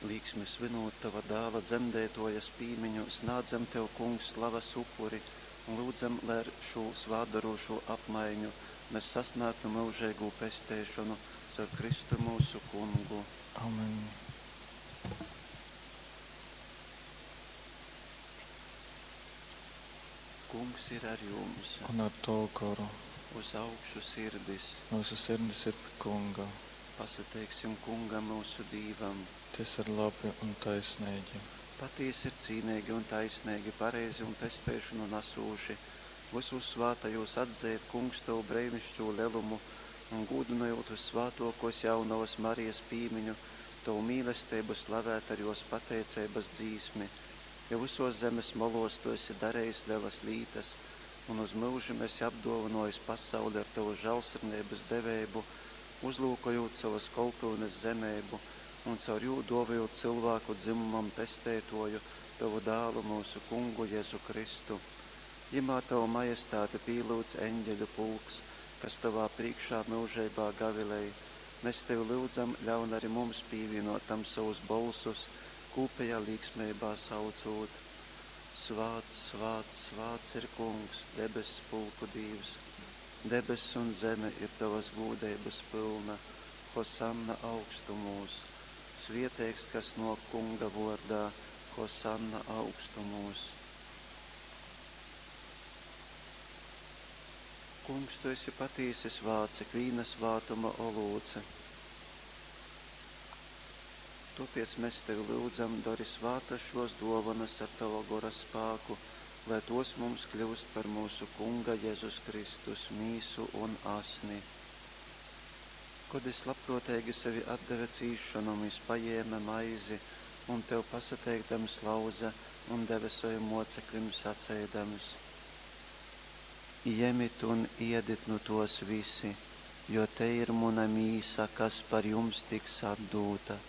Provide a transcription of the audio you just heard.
Līksmi svinūt Tova Dāla Dzemdeitōjas pīmiņu, snādzam Tev, Kungs, slavas upuri un lyudzam, lai ar šū svātdorūšū apmaiņu mes sasnāgtu myužeigū pesteišonu caur Kristu myusu Kungu. Amen. Kungs ir ar jums. Un ar tavu goru. Uz augšu sirdis. Myusu sirdis ir pi Kunga. Pasateiksim Kungam, myusu Dīvam. Tys ir labi un taisneigi. Patīsi ir cīneigi un taisneigi, pareizi un pesteišonu nasūši, vysūs svātajūs atzeit, Kungs, Tovu breinišķū lelumu un, gūdynojūt vyssvātōkōs Jaunovas Marijas pīmiņu, Tovu mīlesteibu slavēt ar jōs pateiceibas dzīsmi. Jo vysōs zemes molōs Tu esi darejis lelas lītas un uz myužim esi apdōvynōjis pasauli ar Tovas žālsirdeibas deveibu, uzlyukojūt sovas kolpyunes zemeibu un caur jū dōvojūt cylvāku dzymumam Pesteitōju, Tovu Dālu, myusu Kungu Jezu Kristu. Jymā Tovu majestāti pīlyudz eņģeļu pulks, kas Tovā prīškā myužeibā gavilej. Mes Tevi lyudzam, ļaun ari mums pīvīnōt tam sovus bolsus, kūpejā līksmeibā saucūt, Svāts, svāts, svāts ir Kungs, debess pulku Dīvs! Debess un zeme ir Tovas gūdeibas pylna. Hosanna augstumūs! Svieteigs, kas nōk Kunga vōrdā, Hosanna augstumūs! Kungs, Tu esi patīsi svāts, ikvīna svātuma olūts. Tōpēc mes Tevi lyudzam, dori svātas šōs dōvonas ar Tova Gora spāku, lai tōs mums kļyust par myusu Kunga Jezus Kristus mīsu un asni. Kod Jys labprōteigi sevi atdeve cīsšonom, Jys pajēme maizi un, Tev pasateikdams, lauze un deve sovim mōceklim, saceidams. Jemit un ēdit nu tōs visi, jo tei ir muna mīsa, kas par jums tiks atdūta.